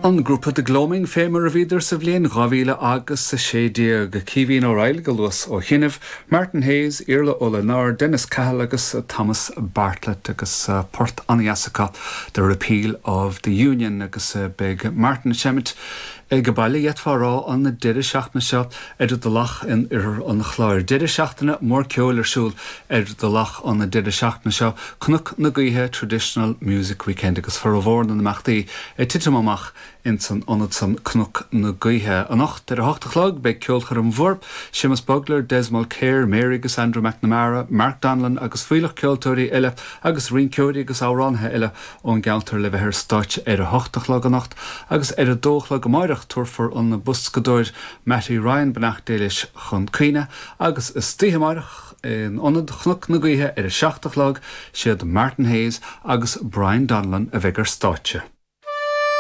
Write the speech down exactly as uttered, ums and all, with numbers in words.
An grúpa The Gloaming fé mar a bhíodar sa bhliain dhá mhíle agus a sé déag Caoimhín Ó Raghallaigh go luas ó chinnibh, Martin Hayes, Iarla Ó Lionáird, Dennis Cahill agus Thomas Bartlett agus uh, port an-deas acu The Repeal of the Union agus uh, beidh Martin ag seimint ag baile d'fhéadfá a rá an deireadh seachtaine seo ar an Tulach in oirthear an Chláir. Deireadh seachtaine mór ceoil ar siúl ar an Tulach an deireadh seachtaine seo Cnoc na Gaoithe Traditional Music Weekend agus formhór na n-imeachtaí ag titim amach in san ionad san Cnoc na Gaoithe. Anocht ar a hocht a chlog beidh ceolchoirm mhór, Séamus Bugler, Des Mulcair, Mary agus Andrew McNamara, Mark Donlan agus fuílleach ceoltóirí eile agus rinceoirí agus amhránaithe eile ón gceantar le bheith ar stáitse ar a hocht a chlog anocht agus ar a dó a chlog amárach tabharfar an boscadóir Matty Ryan beannacht Dé leis chun cuimhne agus istoíche amárach in ionad Chnoc na Gaoithe ar a seacht a chlog siad Martin Hayes agus Brian Donlan a bheidh ar stáitse.